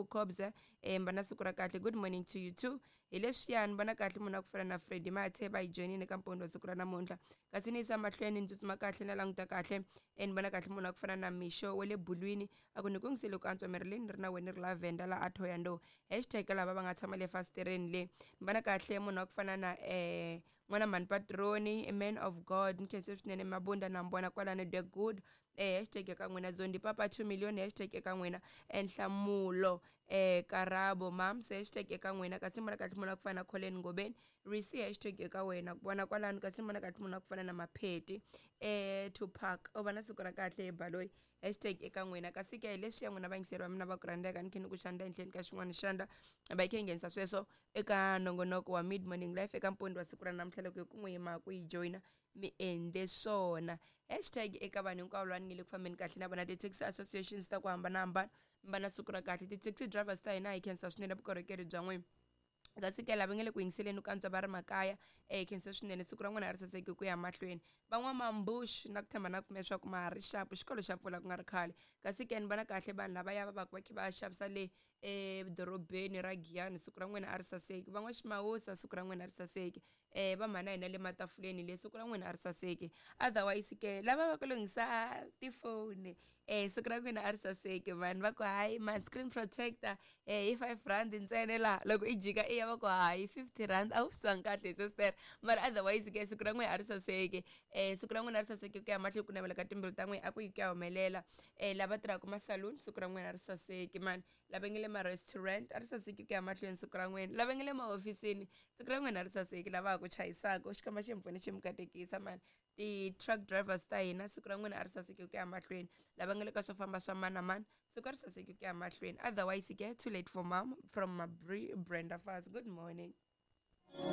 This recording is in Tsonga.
Cool Cobs, mba na siku ra kahle. Good morning to you too. Hi leswiyani vona kahle munhu a ku fana na Freddy Mathe va yi joyinile ka mpondo wa siku ra namuntlha. Kasi ni yisa mahlweni ni tsutsuma kahle na languta kahle, ni vona kahle munhu a ku fana na Misho wa le Bulwini, a ku ni ku yingisele ku antswa miri leyi ni ri na wena ni ri Lavender la a Thohoyandou. Hashtag lava va nga tshama le fasitereni le. Ni vona kahle munhu a ku fana na n'wana mhani Patroni, man of God, ni khense swinene Mabunda na mi vona kwalano the good. Hashtag eka n'wina Zondi Papa 2 million, hashtag eka n'wina Nhlamulo Karabo Mams, hashtag eka n'wina. Kasi ni vona kahle munhu a ku fana na Colin Ngobeni Risi, hashtag eka wena ku vona kwalano. Kasi ni vona kahle munhu a ku fana na Mapheti Tupac, u va na siku ra kahle hi Baloyi, hashtag eka n'wina. Kasi ke leswi ya n'wina vayingiseri va mina va ku rhandzeka, ni khe ni ku xandla ehenhleni ka xin'wana xandla va yi khe yi nghenisa sweswo eka nongonoko wa Mid Morning Life eka mpondo wa siku ra namuntlha. Loko hi ku n'wi yima ku yi joyina mi endle swona. Hashtag eka vanhu hinkwavo lava ni nge le ku fambeni kahle na vona, ti-taxi associations ta ku hambanahambana, mi va na siku ra kahle. Ti-taxi drivers ta hina hi khensa swinene vukorhokeri bya n'wina. Kasi ke lava nge le ku yingiseleni ku antswa va ri makaya, khensa swinene, siku ra n'wina a ri saseki ku ya mahlweni. Van'wamambuxu na ku tshemba na ku pfumela leswaku ma ha ri xapu, xikolo xa pfula ku nga ri khale. Kasi ke ni vona kahle vanhu lavaya va va ku va kha va xavisa le edorobeni ra Giyani, siku ra n'wina a ri saseki. Van'waximawusa, siku ra n'wina a ri saseki. Va mhana hina le matafuleni le, siku ra n'wina a ri saseki. Otherwise ke lava va ku lunghisa tifoni, siku ra n'wina a ri saseki mani. Va ku hayi ma screen protector hi 5 rand ntsena la, loko i jika i ya va ku hayi 50 rand, a wu swi twangi kahle sister. Mara otherwise ke siku ra n'wina a ri saseki. Siku ra n'wina a ri saseki ku ya mahlweni, ku navela ka timbilu ta n'wina a ku yi ku ya humelela. Lava tirhaka ma-saloon, siku ra n'wina a ri saseki mani. Lava nge le ma-restaurant, a ri saseki ku ya mahlweni siku ra n'wina. Lava nge le mahofisini, siku ra n'wina a ri saseki. Lava ha ku chayisaka, Xikwembu xi mi pfune xi mi katekisa mani. Ti-truck drivers ta hina, siku ra n'wina a ri saseki ku ya mahlweni. Lava nga le ka swo famba swa mani na mani, siku a ri saseki ku ya mahlweni. Otherwise ke too late for mom from Mabri Brenda Fast. Good morning.